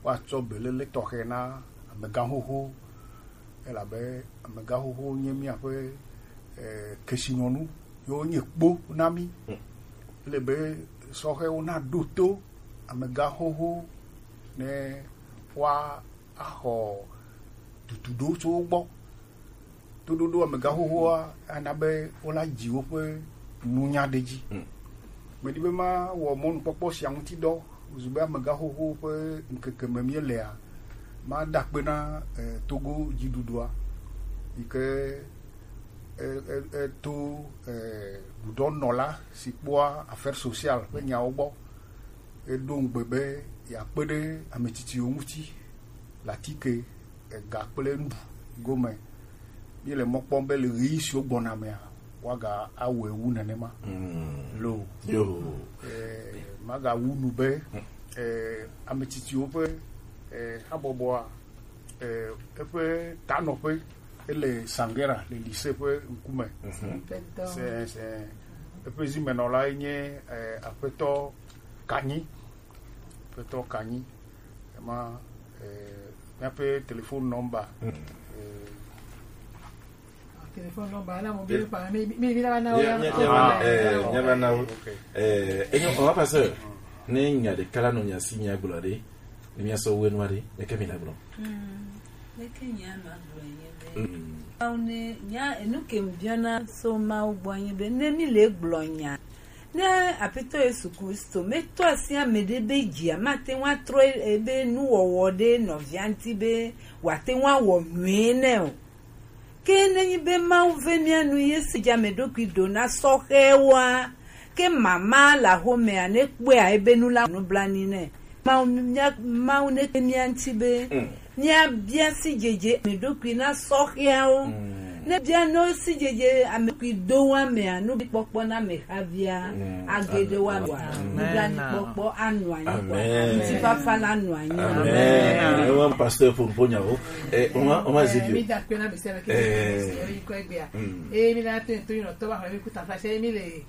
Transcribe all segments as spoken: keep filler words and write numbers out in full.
Woatsɔ belele tɔxɛ na amegãxoxo, elabe amegãxoxo nye míaƒe, eh, kesinɔnu, ye wonye kpo na mí. Ele be sɔhɛwo naɖo to amegãxoxo ne woaxɔ duduɖo tso wo gbɔ. Toɖoɖo amegãxoxoa ana be wola dzi woƒe nunya ɖe edzi. Mm. Medi be mawɔ mɔnukpɔkpɔ sia ŋuti dɔ, zu be amegãxoxo ƒe ŋkeke me míelea, mada akpe na, eh, Togo dziɖuɖua, yi ke, eh, eh, eh, to, eh, ɖuɖɔnɔla si kpɔa affaires sociales ƒe nyawo gbɔ. Eɖo ŋugbe be yeakpe ɖe ame tsitsiwo ŋuti le atike, ega kple nuɖuɖu gome. Míele mɔ kpɔm be le ɣeyiɣi siwo gbɔna mea, woaga awɔe wu nenema. Mm. Lo. Yo. Eh, magawu nu be, eh, ame tsitsiwo ƒe, eh, habɔbɔa, eh, eƒe tanɔƒe, ele Sangera le lycée ƒe ŋkume. Mhm. Se, se, eƒe zimenɔlae nye, eh, Aƒetɔ Kanyi. Aƒetɔ Kanyi. Ema, eh, míaƒe telefon nɔmba. Mm. Eh, Telefon nɔmba, na mo bi pa, mi, mi, mi na na wo ya. Mia, mia, mia, eh, mia na wo. Ok. Eh, enyo, on va passer. Ne nya ɖeka la nɔ mia si mia gblɔ ɖe, ne mia sɔ wenu aɖe, ne ke mi la gblɔ. Mm. Ne ke nya ma gblɔ nye be. Mm. Awo ne, nya, enu ke mi biana so Mawu gbɔ nye be, ne mi le gblɔ nya. Ne Aƒetɔ Yesu Kristo metɔ asi ame ɖe be dzia mate ŋu atrɔ ebe nuwɔwɔ ɖe nɔvia ŋuti be wòate ŋu awɔ nyuie nɛ o. Ke nenyi be Mawu ve mía nu ye si dza ame ɖokui ɖo na sɔhɛwoa, ke mama le axomea nekpɔea ebe nu la nublanui nɛ. Mawu, mía, Mawu neke mía ŋuti be, mm, míabia sidzedze ame ɖokui na sɔhɛawo. Mm. Ne bia no sidzedze ame ɖokui do wa mea, nublanuikpɔkpɔ na ame havia, mm, age ɖe wa. Amen. Nublanuikpɔkpɔ anɔ anyi. Amen. Ŋutifafa la nɔ anyi. Amen. Amen. Ewa pasteur pour ƒo nyawo. Eh, on va, on va, eh, zivio. Mi da akpe na ame sia ame ke, eh, yi kɔ egbea. Mm. Eh, mi la to, to, you know, to ba mi ku ta fa se mi le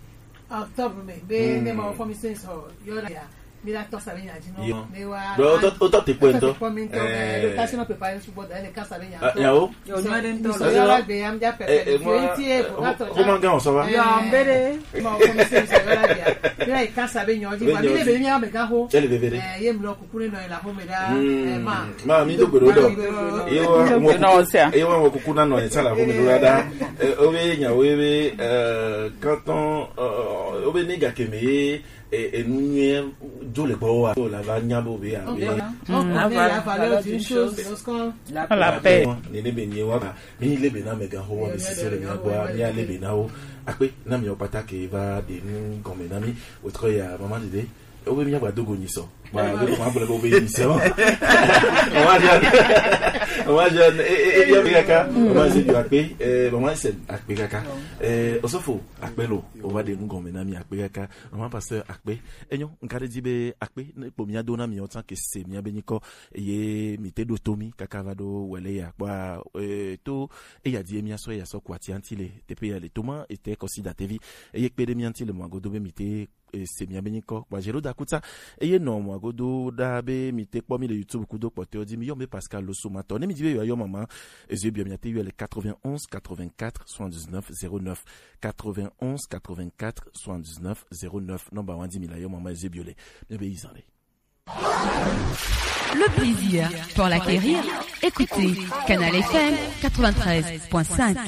Octobre me, be, mm, ne ma fɔ mi se so, yo la ya. Mi la tɔ sa be nya dzi nɔ. Yo. Ne wa. Bro, o tɔ, o tɔ te kpɔ ŋutɔ. Tɔ te kpɔ mi ŋutɔ, eh, eh, do kasi nɔ pepa su bɔ da ne kasa be nya. Ah, ŋutɔ. Nyawo. Yo, nyo de ŋutɔ. So yo la be ya, mi ja pepe. Eh, eh, fi mo, ŋuti e, o, o, ka tɔ o ma gan so wa. Yo, mbere. Ma fɔ mi se so, yo la be ya. Mi la kasa be nya dzi, ma mi le be mi ya me ga ho. Ele be be de. Eh, ye mi lɔ kuku ne nɔ la ho me da. Mm. Eh, ma. Ma, mi do gbeɖo ɖo. Ye wa wɔ kuku, ye wa wɔ kuku na nɔ ye tsã la ƒome ɖo la ɖa. Eh, wo be nya wo be, eh, kantɔn, eh, wo be ne gake me ye, eh, enu nyuie dzo le gbɔ wa. Wo la va nya bo be ya be. On connaît la valeur d'une chose lorsqu'on la perd. Ne ne be nye wa ba. Mi le be na me ga ho wa be sisi le mia gbɔ, mi a le be na wo. Akpe na mi o pata ke va de nu gɔme na mi. Wotrɔ ya, maman Dede. Wo be míagba do go nyi sɔ. Ba, wo ko ma gblɔ be wo be nyi sɔ. Maman Jeanne. Maman Jeanne, e, e, e, bia mi kaka. Maman Jeanne, akpe. Eh, maman Jeanne, akpe kaka. Eh, osɔfo, akpe lo. O va de nu gɔme na mi, akpe kaka. Maman pasteur, akpe. Enyo, ŋka ɖe dzi be akpe, ne kpo mia do na mi, o tsan ke se mia be nyikɔ, eye mi te ɖo to mi, kaka va ɖo wele ya. Kpɔa, eh, to, eya di mia sɔ, eya sɔ kua ti anti le, teƒe ya le to ma, ete kɔsi datevi. Eye kpe ɖe mia ŋuti le mɔ agodo be mi te e, se mia be nyikɔ kpa Géraud Dakuta. Eye nɔ mɔ agodo ɖa be mi te kpɔ mi le YouTube kudo kpɔtɔewo dzi, mi yɔ mi be Pascal Losomatɔ. Ne mi di be yewoayɔ mama, eze biɔ mia te yɔ le quatre-vingt-onze quatre-vingt-quatre soixante-dix-neuf zéro neuf, quatre-vingt-onze quatre-vingt-quatre soixante-dix-neuf zéro neuf. Nɔmba wa dzi mi la yɔ mama eze biɔ le. Mi be yi zan le. Le plaisir pour l'acquérir, écoutez Canal F M quatre-vingt-treize point cinq.